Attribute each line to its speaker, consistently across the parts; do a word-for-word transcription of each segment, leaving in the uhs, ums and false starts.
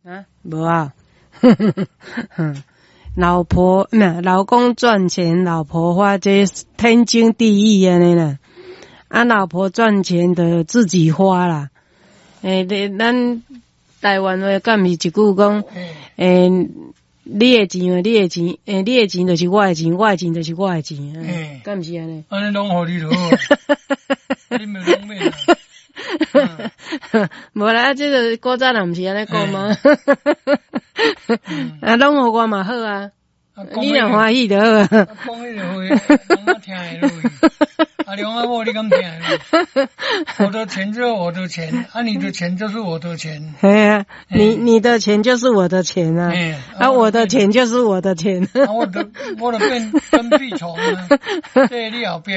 Speaker 1: 啊，無啊。老婆，那老公賺錢，老婆花，這天經地義按呢啦。啊，老婆賺錢就自己花啦。欸，你咱台灣話敢毋是一句講，欸，你的錢，你的錢，欸，你的錢就是我的錢，我的錢就是我的錢，敢毋是按呢？
Speaker 2: 按呢攏予你就好，你咪攏免。
Speaker 1: 無啦，這個古早人毋是按呢講嗎？啊，攏予我嘛好啊，你若歡喜就好啊。
Speaker 2: 講彼個話，攏嘛聽會落去。阿龍阿某，你敢聽會落？我的錢就是我的錢，啊，你的錢就是我的錢。
Speaker 1: 嘿啊，你你的錢就是我的錢啊，啊，我的錢就是我的錢。
Speaker 2: 啊，我就我就變跟屁蟲啊，佇你後壁。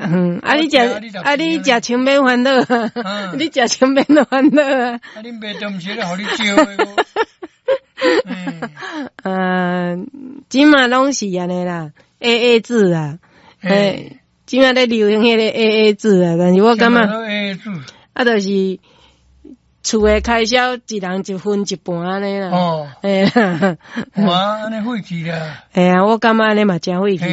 Speaker 1: 嗯，啊，你食啊，你食穿免煩惱，你食穿免煩惱啊。
Speaker 2: 啊，恁爸都毋是咧予你招的。
Speaker 1: 嗯，這馬攏是按呢啦，A A 制啊，欸，這馬咧流行彼个 A A 制啊，但是我感覺
Speaker 2: A A 制，
Speaker 1: 啊，就是厝的開銷一人一分一半按呢啦。
Speaker 2: 哦，
Speaker 1: 嘿，
Speaker 2: 哇，按呢廢去啦。
Speaker 1: 嘿啊，我感覺按呢嘛誠廢去。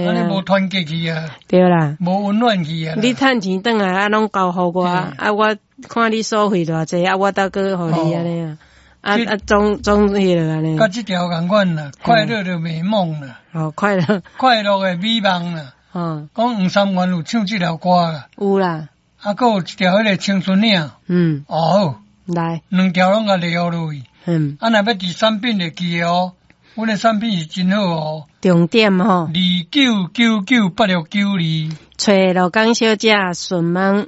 Speaker 2: 按呢無團結去啊。
Speaker 1: 對啦。
Speaker 2: 無溫暖去啊。
Speaker 1: 你趁錢轉來啊，攏交予我，啊，我看你所費偌濟，啊，我倒閣予你按呢啊。啊啊，總總彼個按呢。
Speaker 2: 佮這條仝款啦，快樂的美夢啦。
Speaker 1: 哦，快樂。
Speaker 2: 快樂的美夢啦。
Speaker 1: 嗯。
Speaker 2: 講黃三元有唱這條歌啦。
Speaker 1: 有啦。
Speaker 2: 啊，閣有一條彼個青春嶺。
Speaker 1: 嗯。
Speaker 2: 哦。
Speaker 1: 來。
Speaker 2: 兩條攏共列落去。
Speaker 1: 嗯。
Speaker 2: 啊，若欲佇產品會記得哦，阮的產品是真好哦。
Speaker 1: 重點吼。
Speaker 2: 二九九九八六九二。
Speaker 1: 揣羅江小姐順問。